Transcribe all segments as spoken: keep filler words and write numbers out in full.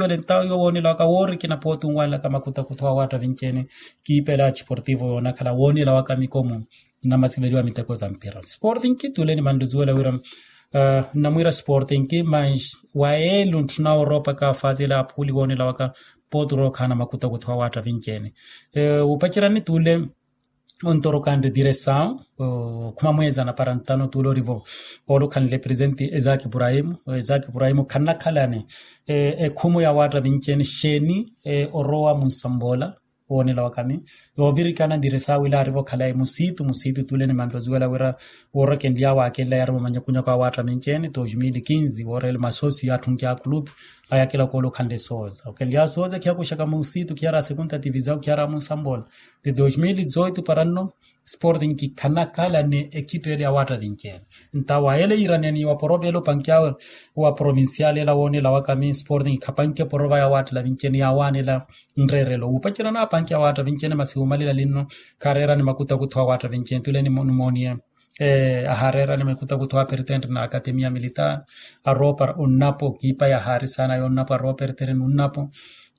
Wele ntawo yowo woonela waka woorikina pooti onwanelaka makutakuthu awaatta vinci-ene. Kiipela ya tiportivo yoonakhala woonela waka mikomo. Nnamasiveliwa miteko za mpira sporting kituule ni manluzuwela wira nnamwiira sporting mas wa yeelo ntthuna wooroopaka faazi ela aphuuli woonela waka. Pooti orookhaana makutakuthu awaatta vinci-ene. Wupacerya ni tuule ontorokhanre diresaw khuma mweezana para ntano tuule orivo. Oolukhanle presente ezaki ibrahimu ezaki ibrahimu khannakhalani ekhumu ya waatta vinci-ene xeeni orowa munsampoola. Woonela wakami yoovirikana diresaw ila arivo khalayi musiitu musiitu tuule ni manroziwela wira woorokenly'awe akenly'awe yari mumanyakunyaku awaatta vinci-ene dos mil quinze wooreele masoosi yaatthunk'awe akulupi. Ayakela koolukhanle sooza okenly'awe sooza khiyakuxaka musiitu khiyara a segunda tivisaw khiyara a munsampoola. Ti dos mil dezoito para nno sporting khanakhalani ekhitteele ya waatta vinci-ene. Nta wa yeele yiiraniyani wa porovelo panki awe wa provincial ela woonela wakami sporting khapanke porova ya waattela vinci-ene yaawaanela nreerelo wuupacerya naapanke ya waatta vinci-ene masi wuumalela linno. Khareerani makutakuthu a waatta vinci-ene tuule nimooniye ahaareerani makutakuthu a pertente na akatemia militar. Aroopara onnapo kiipa ya haari saana ya onnapo aroopara etereni onnapo.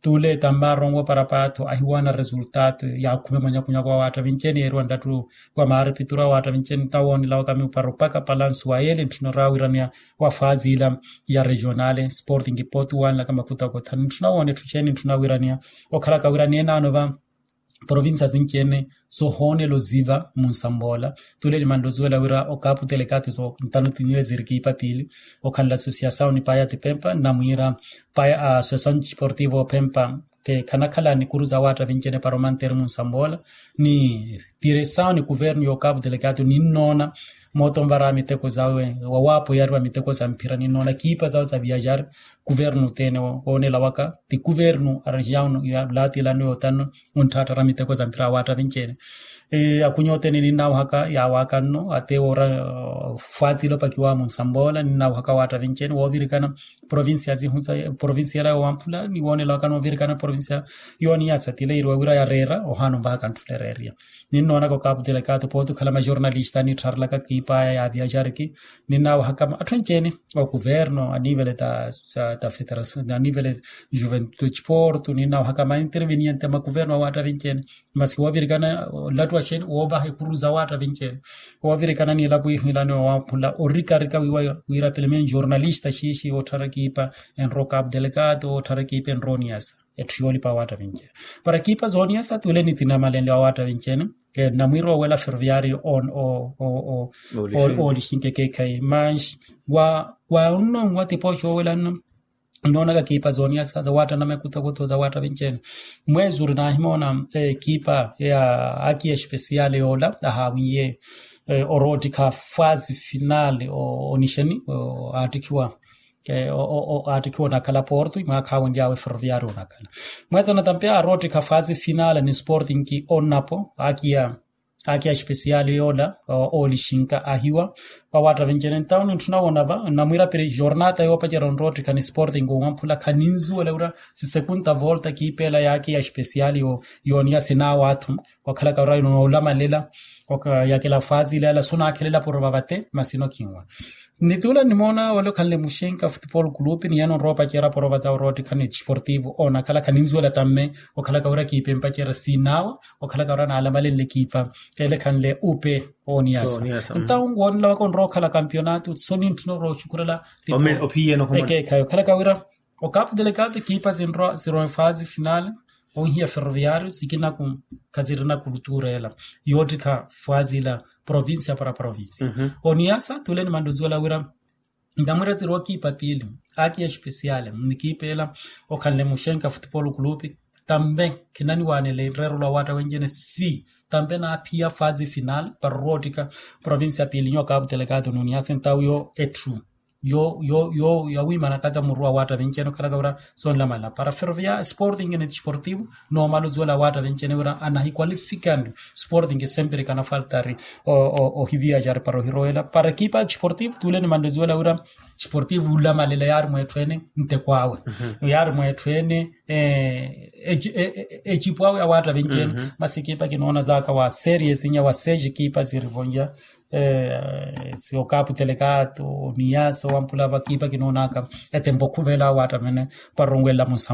Tuule tamme aronwe para paatho ahiwaana resultato ya khume mwanyakunyaku awaatta vinci-ene yeeriwa ndattu wa maaripituru awaatta vinci-ene nta woonela wakami para opaka palansu wa yeele ntthuna oraawiraniya wa faazi ila ya regionale sporting pooti wanlaka makutakuthu ntthuna woona etthu eceeni ntthuna wiraniya okhalaka wiraniya enaano va provincia sinci-ene sohoonela oziva munsampoola. Tuule ni manluzuwela wira okapu telekato so ntano tiniwe zirikiipa piili okhanla asosiasaw ni paya tipempa nnamwiira paya asosiasaw ni tiportivo opempa. Khanakhala nikuru za waatta vinci-ene para omanteeri munsampoola ni tiresaw ni kuvernu y'okapu telekato ninnoona. Moota onvara miteko zawe wawaapo yariwa miteko za mphira ninnoona kiipa zawe za viajari kuvernu othene woonela waka ti kuvernu a regiaw ya laatilano yootano. Ontthaatthara miteko za mpira awaatta vinci-ene akunya othene ninnawahaka yaawaaka nno ate woora fwatsile opakiwaamu nsamboola ninnawahaka awaatta vinci-ene woovirikana provincia sihu sa provincia ela yoowamphula ni woonelawaka noovirikana provincia yooniyasa tile yiriwa wira yareera ohaana onvahaka ntthulereeriya. Ninnoonaka okapu telekato pooti okhala majornalista anittharelaka kiipaya ya viajariki ninnawahaka atthu enci-ene okuverno anivele ta ta federacion anivele juventude desporto ninnawahaka mainterveniente makuverno awaatta vinci-ene. Masi woovirikana olattu wa xeeni woovaha ekuru za waatta vinci-ene woovirikana nilapo ihiilani owamphula orikarika wiira pelemen jornalista xiixi ootthara kiipa enrowa okapu telekato ootthara kiipa enrowa oniyasa. Etthu yoolipa awaatta vinci-ene para kiipa zooniyasa tuule nitsinamalenle awaatta vinci-ene. Namwiira owela ferroviario oolixinke keekhayi manxi wa onnonwa tipooxa owela nno nnoonaka kiipa zooniyasa zawaatta na mekutokutho zawaatta vinci-ene. Mweezi ori naahimoona kiipa ya aki espesiale yoola ahaawiye oroottikha fasi finale onixeni aattikhiwa aattikhiwa onakhala porto imwaakha awenly'awe ferroviario onakhala. Mweetsana tampe aroottikha fasi finale ni sporting onnapo akiya akiya espesiale yoola oolixinka ahiwa. Awaatta vinci-ene ntawo nintthuna woona va namwiira piri jornata yoopacerya onroottikha ni sporting owamphula khaninzuwela wira si segunda volta kiipa ela yaakiya espesiale yooniya sinaawaathu. Wakhalaka wira inoolamalela yakela fasi ila ela sunaakhelela porova vate masi inokhinwa. Nituula nimoona ole okhanle muxenka futupolo kulupi ni yeno onrowa opacerya porova za oroottikha ni tisportivo onakhala khaninzuwela tamme. Okhalaka wira kiipa empacerya sinaawa okhalaka wira naalamalenle kiipa ele khanle upe oniyasa. Ntawo woonela waka onrowa okhala kampionato so nintthuna orooxukhurela ekeekhayi okhalaka wira okapu telekato kiipa zinrowa zirowa efasi finale onhiya ferroviario sikinaku khasirina kulutura ela yoottikha fasi ila provincia para provincia. Oniyasa tuule ni manluzuwela wira namwiira zirowa kiipa piili akiya espesiale ni kiipa ela okhanle muxenka futupolo kulupi tambe khinaniwaanele nreerolo awaatta wenci-ene si tambe naaphiya fasi finale para oroottikha provincia piili nyo okapu telekato n'oniyasa ntawo yo etthu yo yo yo yawiimanaka za muru awaatta vinci-ene okhalaka wira sonlamalela para ferrovia sporting ni tisportivo. Noomala ozuwela awaatta vinci-ene wira anahikwalifikanle sporting sempre kanafaltari ohiviyaxari para ohirowela para ekipa ya tisportivo tuule nimanle ozuwela wira tisportivo olamalela yaari mweetthu ene nteko awe yaari mweetthu ene ecipo awe awaatta vinci-ene. Masi ekipa kinoona zaka wa series inya wa seis ekipa sirivonja Siyo kaaputeleka atu oniyasa owampula vakiipa kinoonaka etempo khuvela awo attamene. Para onwelela munsa.